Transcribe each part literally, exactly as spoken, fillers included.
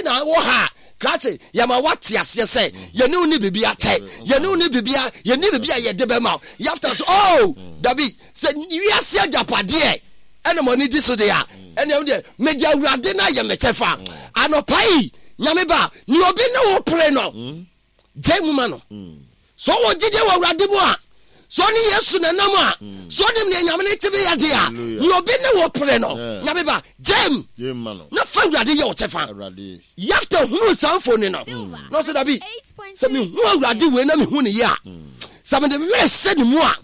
na wɔ ha krase yɛma woate aseɛ sɛ yɛne wo ne biribi akyɛ, yɛne wo ne biribi a yɛne biribi a yɛde bɛma wo. Yafta so, oh, dabi, sɛ wiase agyapadeɛ ɛna mo ani gye so deɛ a, ɛne ɛho deɛ mede Awurade no ayɛ me kyɛfa. Anɔpa yi, Nyame ba, ne obi ne wo pere no, gyae mu ma no. Sɛ ɔwɔ gyidie wɔ Awurade mu a, sɛ ɔne Yesu na nam a, sɛ ɔnim nea Nyame ne tebe yɛ de a, nea obi ne wo pere no, Nyame ba, gyae mu na fa Awurade yɛ wo kyɛfa. Yefta hunuu saa mfoni no, na ɔsɛ dabi, sɛ mehu Awurade wei na mehu ne yie a, sɛ mede me werɛ hyɛ ne mu a,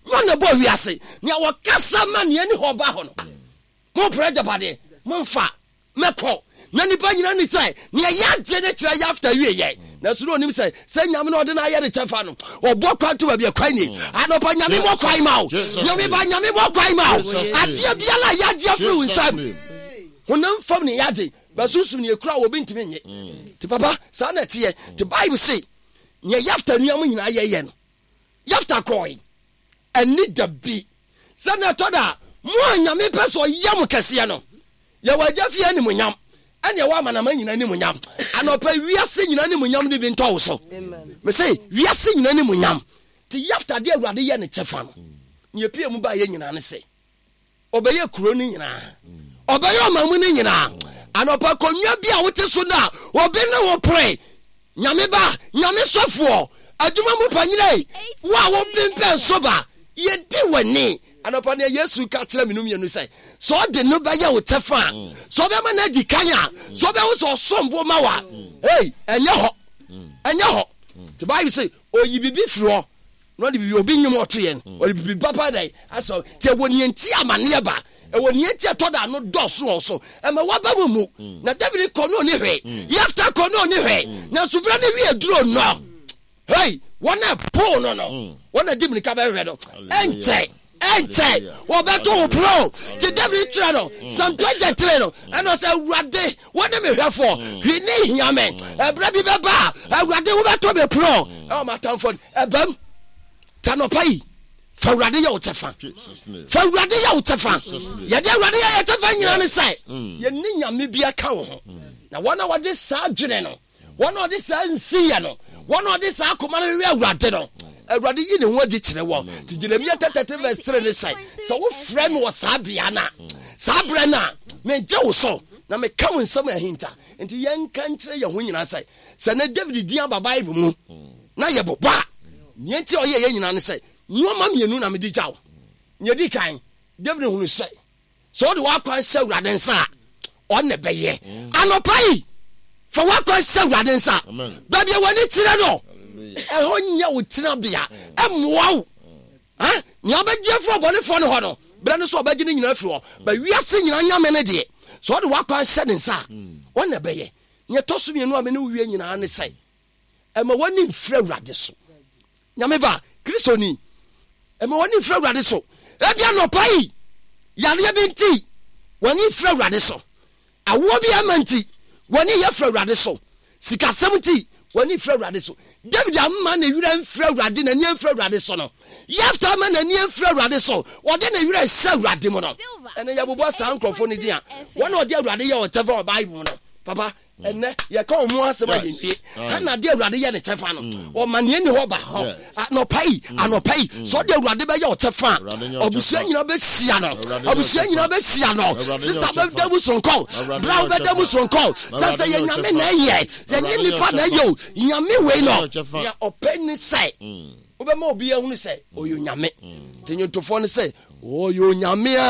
nyɛ ɔna ɛbɔɔ wiase, nea wɔkasa ma nea ɛni hɔ ba hɔ no, mompere agyapadeɛ, momfa. Mɛkɔ. Na nnipa nyinaa nim sɛ nea yɛagye no kyerɛ Yafta wieɛ. Nanso na ɔnim sɛ sɛ Nyame na ɔde no ayɛ ne kyɛfa no, ɔbɔ kwan to baabi a kwan ni. Anɔpa Nyame mmɔ kwan ma wo. Nyame ba, Nyame mmɔ kwan ma wo. Adeɛ biara a yɛagye afiri wo nsam, honam fam ne yɛagye, ba sunsum ne yɛkura a obi ntumi nnye. Nti papa, saa na ɛteɛ. Nti Bible se, nea Yafta nua mo nyinaa yɛyɛ no, Yafta kɔɔe. Ɛnne da bi. Sɛnea ɛtɔ da a, mo a Nyame pɛ sɛ ɔyɛ mo kɛseɛ no, yɛwɔ Agya fie animuonyam, ɛne ɛwɔ amanaman nyinaa animuonyam. Anɔpa yi, wiase nyinaa animuonyam no bi ntɔ wo so. Mese, wiase nyinaa animuonyam. Nti Yefta de Awurade yɛ ne kyɛfa no, nea epie mu baeɛ nyinaa ne sɛ, ɔbɛyɛ kuro no nyinaa, ɔbɛyɛ ɔman mu no nyinaa. Anɔpa akonnwa bi a wote so no a obi ne wo pere, Nyame ba, Nyame sɔfoɔ, adwuma mu panyina, wo a wobempɛn so ba, yɛdi w'ani. Anɔpa nea Yesu ka kyerɛ me no mmienu sɛ, sɛ ɔde no bɛyɛ wo kyɛfa a, sɛ ɔbɛma no adi kan a, sɛ ɔbɛwo sɛ ɔsom bo ma wo a, ei, ɛnyɛ hɔ, ɛnyɛ hɔ. Nti Bible sɛ, oyi biribi firi hɔ na ɔde biribi, obi nnwom ɔto yɛn, ɔde biribi papa dɛn asɛ. Nti ɛwɔ nea nti amaneɛ ba, ɛwɔ nea nti ɛtɔ da ano dɔɔso wɔ so, ɛma waba mu mu. Na David kɔ no ɔni hwee, Yefta kɔ no ɔni hwee, nanso berɛ no wie duro no, hei, wɔn a ɛpoo no no, wɔn a di mirika bɛhwehwɛ no, ɛnkyɛ ɛnkyɛ wɔbɛto wo pono. Nti David twerɛ no Psalm twenty-three no, ɛna ɔsɛ, Awurade, wo ne me hwɛfoɔ, hwee ne hia me. Ɛberɛ bi bɛba a, Awurade, wobɛto me pono ɛwɔ m'atamfoɔ no ɛbam. Ta nɔpa yi, fa Awurade yɛ wo kyɛfa. Fa Awurade yɛ wo kyɛfa. Yɛde Awurade yɛ yɛ kyɛfa nyinaa ne sɛ yɛne Nyame bi aka wo ho. Na wɔn a wɔde saa adwene no, wɔn a wɔde saa nsiyɛ no, wɔn a wɔde saa akoma no hwehwɛ Awurade no, Awurade yi ne ho adi kyerɛ wɔn. Nti Jeremia thirty-three verse three ne sɛ, sɛ wofrɛ me wɔ saa bea no a, saa berɛ no a, megye wo so na meka wo nsɛm ahinta. Nti yɛnka nkyerɛ yɛn ho nyinaa sɛ, sɛ ne David din aba Bible mu na yɛbobɔ a, nea nti a ɔyɛ yɛn nyinaa ne sɛ, nneɛma mmienu na mede gya wo. Nea ɛdi kan, David hunu sɛ, sɛ wode w'akwan hyɛ Awurade nsa a, ɔno na ɛbɛyɛ. Anɔpa yi, fa w'akwan hyɛ Awurade nsa. Baabi a w'ani kyerɛ no, ɛhɔ nyɛ wo tenabea, ɛmmoa wo. Nea ɔbɛgye afiri ɔbɔnefoɔ no hɔ no, berɛ no so ɔbɛgye ne nyinaa afiri hɔ. Ba wiase nyinaa Nyame no deɛ, sɛ ɔde w'akwan hyɛ ne nsa a, ɔno na ɛbɛyɛ. Nea ɛtɔ so mmienu a me ne wo wie nyinaa ne sɛ, ɛma w'ani mfiri Awurade so. Nyame ba, Kristoni, ɛma w'ani mfiri Awurade so. Ebi anɔpa yi, yareɛ bi nti, w'ani mfiri Awurade so. Awoɔ bi ama nti, w'ani yɛ firi Awurade so. Sikasɛm nti, w'ani mfiri Awurade so. David amma ne werɛ mfiri Awurade, n'ani amfiri Awurade so no. Yefta amma n'ani amfiri Awurade so, ɔde ne werɛ hyɛ Awurade mu no. Ɛnɛ yɛbobɔ saa nkurɔfoɔ no din a, wɔn a wɔde Awurade yɛ wɔn kyɛfa wɔ Bible mu no, papa, ɛnɛ yɛka wɔn mu asɛm a yɛnwie. Hana de Awurade yɛ ne kyɛfa no, ɔma nea ɛni hɔ ba hɔ. Anɔpa yi, anɔpa yi, sɛ ɔde Awurade bɛyɛ ɔkyɛfa a, abusua nyinaa bɛhyia no, abusua nyinaa bɛhyia no. Sista bɛda mu soronko, bra wobɛda mu soronko. Sɛ sɛ yɛ Nyame na ɛyɛ, yɛnyɛ nipa na ɛyɛ o, Nyame wei no, nea ɔpɛ ne sɛ wobɛma obi ahunu sɛ ɔyɛ Onyame. Nti nnwontofoɔ no sɛ ɔyɛ Onyame a.